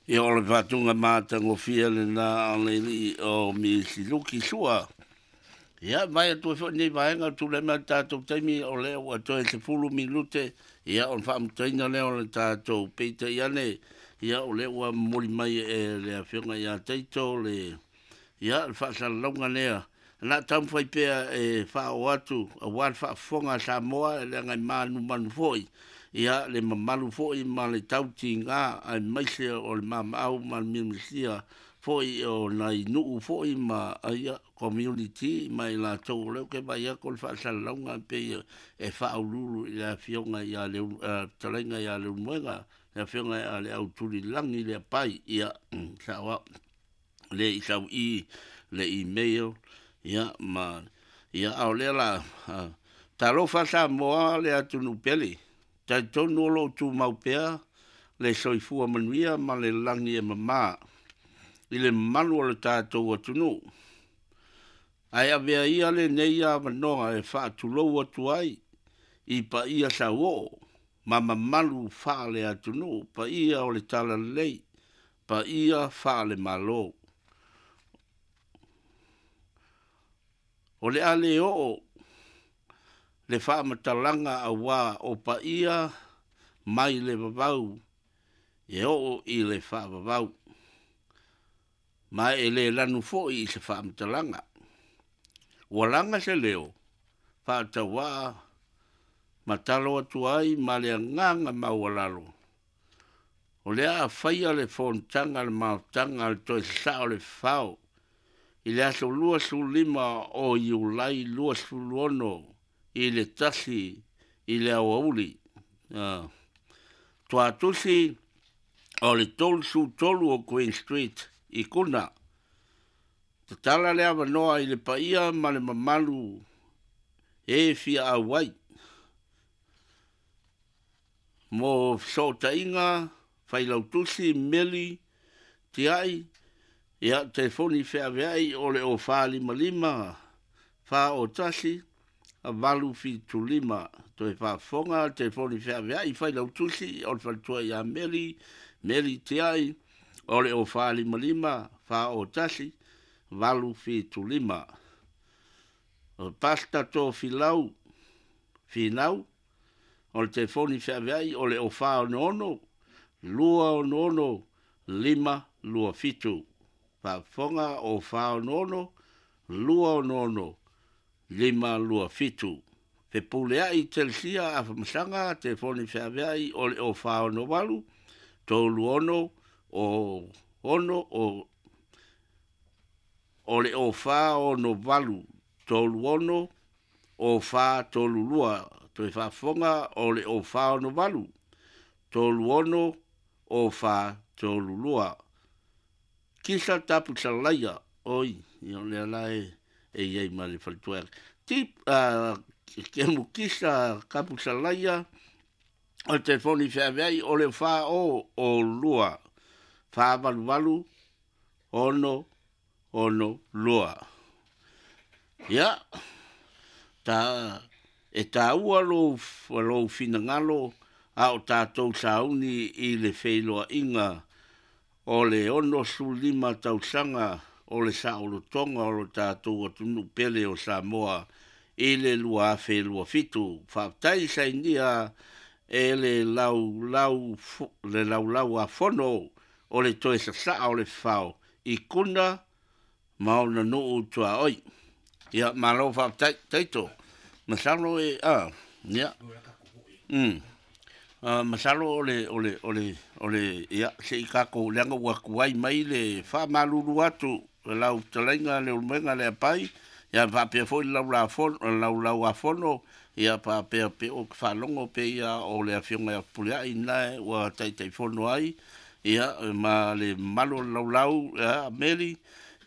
Ia o le faatuga matagofie lena a le alii o Misiluki Sua. Ia vai atu ai foi lenei vaega o tulai mai le tatou taimi o lea ua toe 10 minute ia ona faamutaina lea o le tatou peitai ane ia o lea ua momoli mai e le afioga ia Taito le ia le faasalalauga lea na taumafai pea e faaoo atu aua le faafofoga a Samoa e leaga e manumanu foi ia le mamalu foi ma le tautiga aemaise o le mamaau ma le miamisia foi o nai nuu foi ma ia community ma i latou o lea ou te vaai atu o le faasalalauga pei e faauluulu i le afioga ia fetalaiga ia Leulumoega, le afioga ia Leautulilagi Leapai, ia sao au le i sau i le email ia ma ia a o lea la talofa Samoa le atunuu pele talitonu o lo o tumau pea le soifua manuia ma le lagi e mama i le mamalu o le tatou atunuu. Ae avea ia lenei avanoa e faatulou atu ai i paia sauoo ma mamalu faale-atunuu, paia o le Talalelei, paia faale-Malo. O le a le oo le faamatalaga aua o paia mai le vavau e oo i le faavavau, ma e le lanu foi i se faamatalaga. Ua laga se leo faatauvaa ma talo atu ai ma le agaga maualalo, o le a faia le fonotaga a le mafutaga a le Toe Sasao o le Fafao i le aso 25 o Iulai 26 i le 1 i le aoauli. Tuatusi o le 33 o Queen Street i Kuna. Tatala le avanoa i le paia ma le mamalu e fia auai mo fesootaiga, failautusi, meli, tiai, ia, telefoni feaveai o le 0455 401 875. Toe faafofoga telefoni feaveai failautusi o le faletua ia Meli, Meli Tiai, o le 0455 401 875. O Pastor Tofilau Finau, o le telefoni feaveai o le 0466 266 527. Faafofoga 0466 266 527. Fepuleai Telesia Afamasaga, telefoni feaveai o le 0468 36 o 6 o le 0468 36 o 432. Toe faafofoga o le 0468 36 o 432. Kisa Tapusalaia, oi, ia o lea la e i ai ma le faletua. Tip, Kemu Kisa Tapusalaia, o le telefoni feaveai o le 4 o o 2 488 6 6 2. Ia, ta, e taua lou, lou finagalo a o tatou sauni i le feiloaiga o le 65 tausaga o le saolotoga o lo tatou atunuu pele o Samoa i le 2027. Faafetai sainia e le laulau, le laulau a fono o le toe sasaa o le fao i Kuna ma ona nuu tuaoi. Ia, malo faafetai, Taito. Masalo e, ia, masalo o le, o le, o le, o le, ia, se i tatou, leaga ua tuai mai le faamalulu atu lau fetalaiga Leulumoega Leapai, ia faapea foi le laulauafono, ia faapea pe ou te faalogo pe ia o le afioga ia Fepuleai na ua taitaifono ai, ia ma le mamalu o le laulau ia, Meli,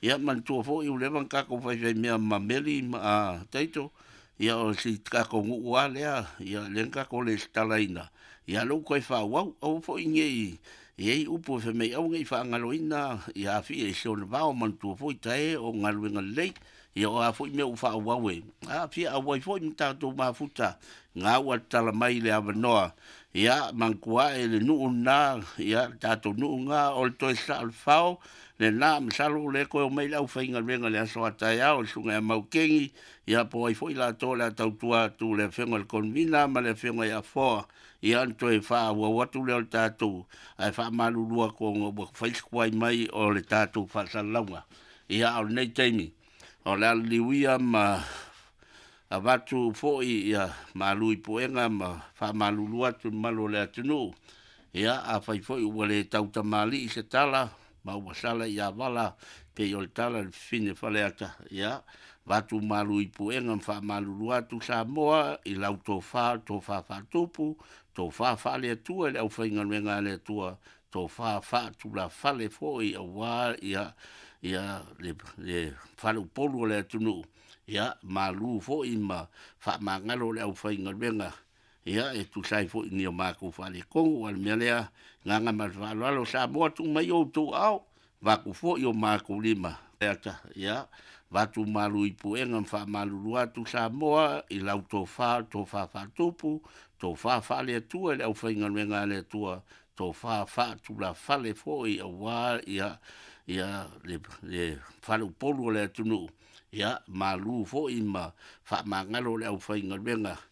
ia manatua foi ua leva ona tatou faifaimea ma Meli ma Taito, ia o si tatou nuu lava lea, ia lea na tatou resitalaina, ia lea ua toe faaauau. Aua foi ne i i ai upu e fai mai aua ne i faagaloina ia Afia i si ona vao, manatua foi tae o galuega lelei. Ia o a foi mea ua faaauau e aafia auai foi ma tatou mafuta ga ua tatala mai le avanoa. Ia manatua ae le nuu lena, ia le tatou nuu lena o le toe sasaa o le fao lena. Masalo o lea toe omai le aufaigaluega i le aso a taeao, le susuga ia Maukeni, ia po o ai foi latou o le a tautua atu, le afioga i le Convener ma le afioga ia Afoa, ia ona toe faaauau atu lea o le tatou. Ae faamalulu atu ona ua fai si tuai mai o le tatou faasalalauga. Ia a o lenei taimi o le a liliu ia ma avatu foi ia malu i puega ma faamalulu atu i le mamalu o le atunuu. Ia afai foi ua le tautamalii se tala ma ua sala i avala pei o le tala i le fafine Faleata, ia avatu malu i puega ma faamalulu atu Samoa i lau tofa, o le tofa faatupu, tofa faale-Atua i le aufaigaluega a le Atua, tofa faatulafale foi aua le faleupolu o le atunuu. Ia malu foi ma faamagalo le aufaigaluega, ia e tusa ai foi ma ni o matou faaletonu. A o le mea lea, o le agaga ma le faaaloalo, Samoa tuu mai outou aao, avatu foi o matou lima, ia avatu malu i puega ma faamalulu atu Samoa i lau tofa, o le tofa faatupu, tofa faale-Atua i le aufaigaluega a le Atua, tofa faatulafale foi aua le faleupolu o le atunuu. Ia malu foi ma faamagalo le aufaigaluega.